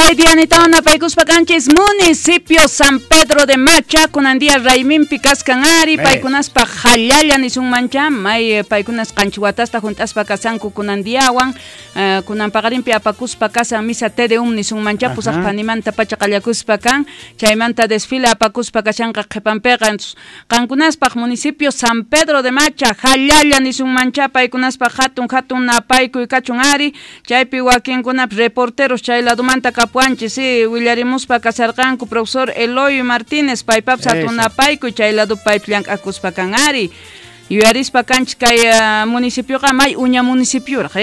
Kay dianitawan napaykuspa kanchis municipio San Pedro de Macha, kunan día rayminpi kaskan ari, paykunaspa jallalla nisunmancha, may paykunas qanchis watasta junt'aspa kasanku kunan diawan, kunan paqarinpi apakuspa kasan misa Te Deum nisunmancha, pusaq phanimanta pacha qallakuspa kan, chaymanta desfile apakuspa kashanqa qhipanpiqa. Qankunaspaq municipio San Pedro de Macha, jallalla nisunmancha, paykunaspaq hatun hatun napaykuy kachun ari, chaypi wakinkunap reporteros chay ladumanta kapuanchis, sí, willarimuspa kasarqanku profesor Eloy Martínez, paypapas hatun napaykuy chay lado paypi llank'akuspa kan ari. Yuyarispa kanchis kay municipioqa may uña municipioraq,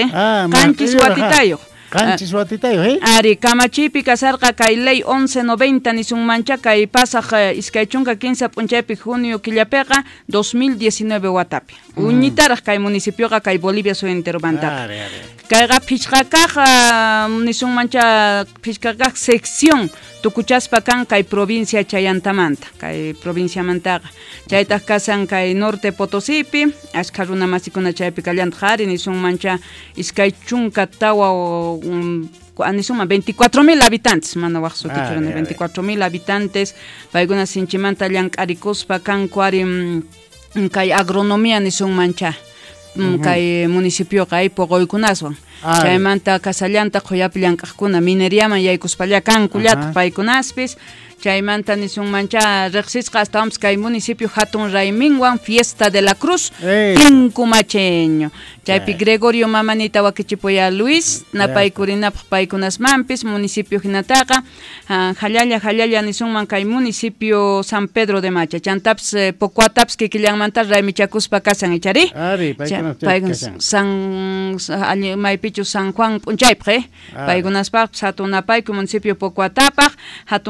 qanchis watitayuq. Qanchis watitayuq, eh? Ari, kamachipi kasarqa kay ley 1190 nisunmancha kay pasaq 23 p'unchaypi junio killapiqa 2019 watapi. Uñitaraq kay municipioqa kay Bolivia suyu enteromantaqa. Kayqa phishqa kaq nisunmancha phishqa kaq sección tukuchaspa kan kay provincia Chayantamanta, kay provinciamantaqa. Chaytaq kasan kay Norte Potosipi, ashkha runa masikuna chaypi kallantaq ari nisunmancha 24 nisunman 24,000 habitantes, mana waj sutichu, 24,000 habitantes, paykuna sinchimanta llank'arikuspa kanku ari kay agronomía nisunmancha. Kay municipioqa ay poqoykunaswan. Chaymanta kasallanta qhuyapi llank'aqkuna mineriaman yaykuspalla kankullataq paykunaspis. Chaymanta nisunmancha riqsisqa astawanpis kay municipio hatun rayminwan Fiesta de la Cruz, Tinkumacheño. Chaypi Gregorio mamanita wakichipuya Luis, napaykurinapaq paykunasmanpis municipio hinataqa, jallalla jallalla nisunman kay municipio San Pedro de Macha. Chantapis Pocuatapis kikillanmanta raymichakuspa kasan ichari. Ari, paykunas San maypichu San Juan p'unchaypaq, paykunaspaqpis hatun napaykuy municipio Pocuatapaq hatun